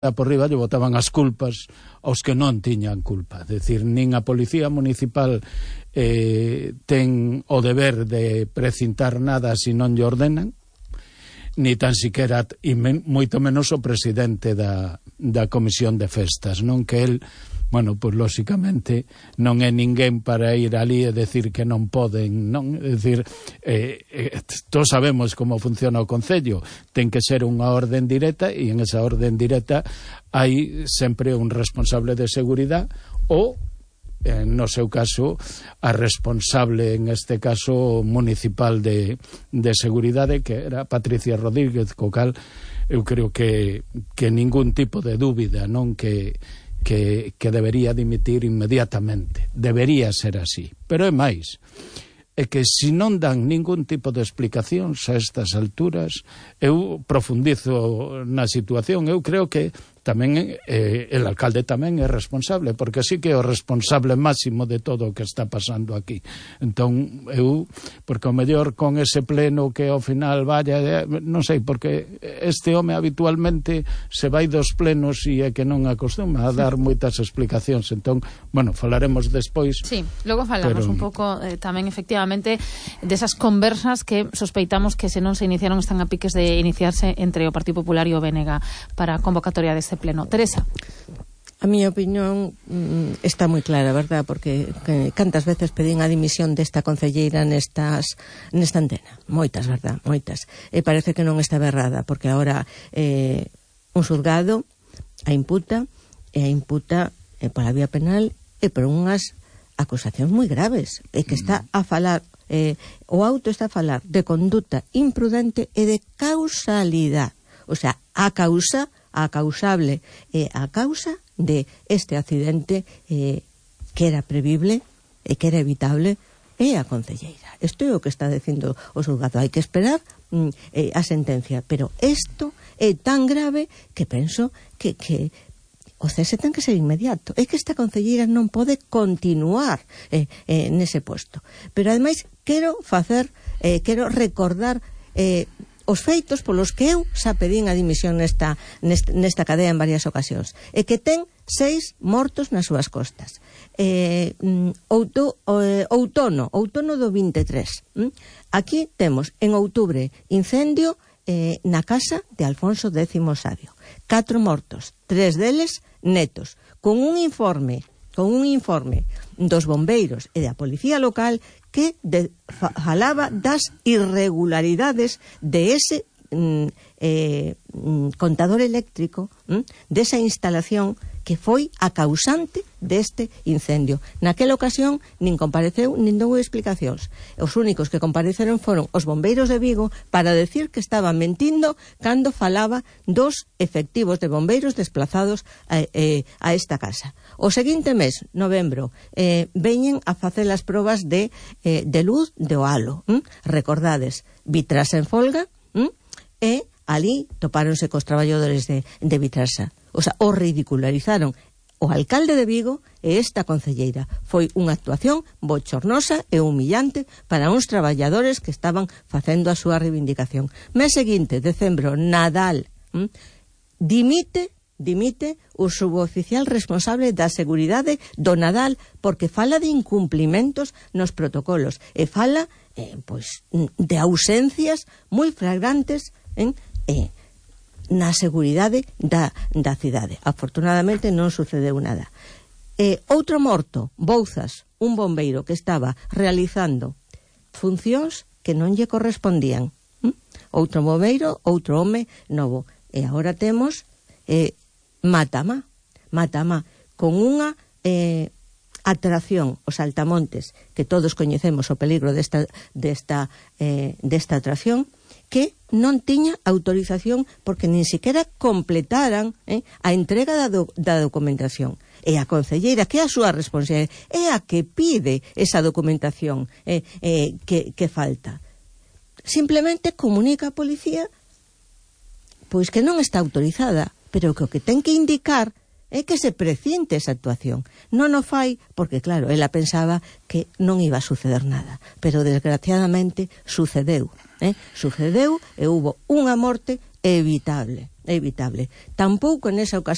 por riba lle botaban as culpas aos que non tiñan culpa. Decir, nin a Policía Municipal ten o deber de precintar nada se non lle ordenan, ni tan siquiera, e moito menos o presidente da Comisión de Festas, non? Que el, bueno, pois lóxicamente non é ninguén para ir ali e decir que non poden, non? É dicir, todos sabemos como funciona o Concello, ten que ser unha orden directa, e en esa orden directa hai sempre un responsable de seguridade ou, no seu caso, a responsable, en este caso municipal de seguridade, que era Patricia Rodríguez, co cal eu creo que ningún tipo de dúbida, non? Que debería dimitir inmediatamente. Debería ser así. Pero é máis, é que se non dan ningún tipo de explicacións a estas alturas, eu profundizo na situación. Eu creo que tamén el alcalde tamén é responsable, porque sí que é o responsable máximo de todo o que está pasando aquí. Entón, eu, porque ao mellor con ese pleno que ao final vaya, non sei, porque este home habitualmente se vai dos plenos e é que non acostuma a dar moitas explicacións. Entón, bueno, falaremos despois. Sí, logo falamos un pouco tamén efectivamente desas conversas que sospeitamos que se non se iniciaron están a piques de iniciarse entre o Partido Popular e o BNG para a convocatoria deste pleno. Teresa. A miña opinión está moi clara, verdad? Porque cantas veces pedín a dimisión desta concelleira nesta antena. Moitas, verdad? Moitas. E parece que non estaba errada, porque agora un xulgado a imputa pola vía penal e por unhas acusacións moi graves. E que está a falar, o auto está a falar de conduta imprudente e de causalidade. O sea, a causable a causa de este accidente que era previble e que era evitable é a concelleira. Isto é o que está dicindo o xulgado. Hai que esperar a sentencia, pero isto é tan grave que penso que o cese ten que ser inmediato. É que esta concelleira non pode continuar nese posto. Pero ademais quero recordar os feitos polos que eu xa pedín a dimisión nesta cadea en varias ocasións, e que ten 6 mortos nas súas costas. Outono do 23. Aquí temos, en outubro, incendio na casa de Alfonso X Sabio. 4 mortos, 3 deles netos, con un informe dos bombeiros e da policía local que falaba das irregularidades de ese contador eléctrico, desa instalación que foi a causante deste incendio. Naquela ocasión nin compareceu nin dou explicacións. Os únicos que compareceron foron os bombeiros de Vigo para decir que estaban mentindo cando falaba dos efectivos de bombeiros desplazados a esta casa. O seguinte mes, novembro, veñen a facer as probas de luz de o halo. Recordades, Vitrasa en folga, e ali topáronse cos traballadores de Vitrasa. O sea, o ridicularizaron o alcalde de Vigo e esta concelleira. Foi unha actuación bochornosa e humillante para uns traballadores que estaban facendo a súa reivindicación. Mes seguinte, decembro, Nadal, dimite o suboficial responsable da seguridade do Nadal porque fala de incumplimentos nos protocolos e fala de ausencias moi flagrantes na seguridade da cidade. Afortunadamente non sucedeu nada. Outro morto, Bouzas, un bombeiro que estaba realizando funcións que non lle correspondían. Outro bombeiro, outro home novo. E agora temos Matamá, con unha atracción, os Altamontes, que todos coñecemos o peligro desta atracción, que non tiña autorización porque nin siquiera completaran a entrega da documentación. E a concelleira, que é a súa responsabilidade, é a que pide esa documentación que falta. Simplemente comunica a policía pois que non está autorizada, pero que o que ten que indicar é que se precinte esa actuación. Non o fai porque, claro, ela pensaba que non iba a suceder nada, pero desgraciadamente sucedeu. Sucedeu e hubo unha morte evitable. é evitable. Tampouco nesa ocasión